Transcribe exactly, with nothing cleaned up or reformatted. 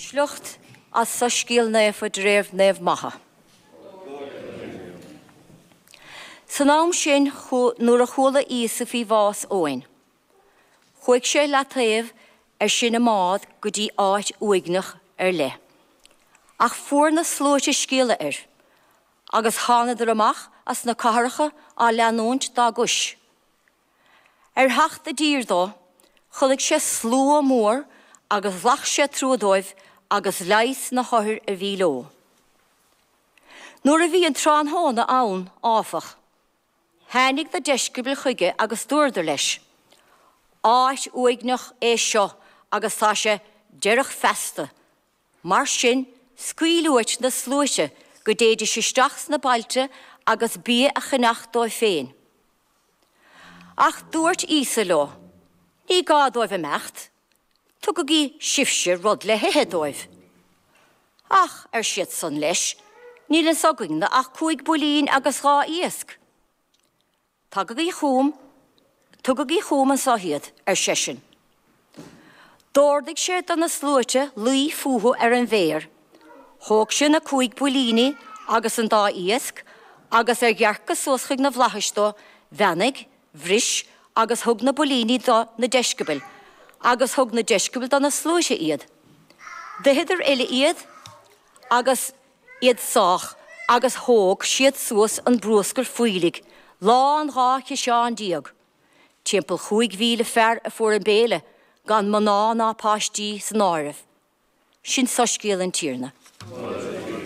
Sliocht as Soiscéal Naofa de réir Naomh Matha. San am sin nuair a chuala Íosa faoi bhás Eoin, chuaigh sé leataobh ar sin i mbád go dtí áit uaigneach ar leith. Ach fuair na sluaite scéala air, agus thánadar amach as na cathracha á leanúint dá gcois. Ar theacht i dtír dó, chonaic sé slua mór agus ghlac sé trua dóibh agus leigheas na hothair a bhí leo. Nuair a bhí an tráthnóna ann, áfach, tháinig na deisceabail chuige agus dúradar leis, Áit uaigneach é seo agus tá sé deireach feasta. Mar sin, scaoil uait na sluaite go dtéidís isteach sna bailte agus bia a cheannach dóibh féin. Ach dúirt Íosa leo, Ní gá dóibh imeacht, tugaigí sibhse rud le hithe dóibh. Ach, ar siadsan leis, níl anso againne ach cúig builín agus dhá iasc. Tagaigí chugam, tugaigí chugam anso iad, ar seisean. D'ordaigh sé do na sluaite luí fúthu ar an bhféar. Thóg sé na cúig builíní agus an dá iasc, agus ar dhearcadh suas chuig na bhflaithis dó, bheannaigh, bhris agus thug na builíní do na deisceabail, agus thug na deisceabail do na sluaite iad. D'itheadar uile iad agus iad sách, agus thóg siad suas an bruascar fuílligh, lán dhá chiseán déag. Timpeall chúig mhíle fear a fuair an béile, gan mná ná páistí san áireamh. Sin soiscéal an Tiarna.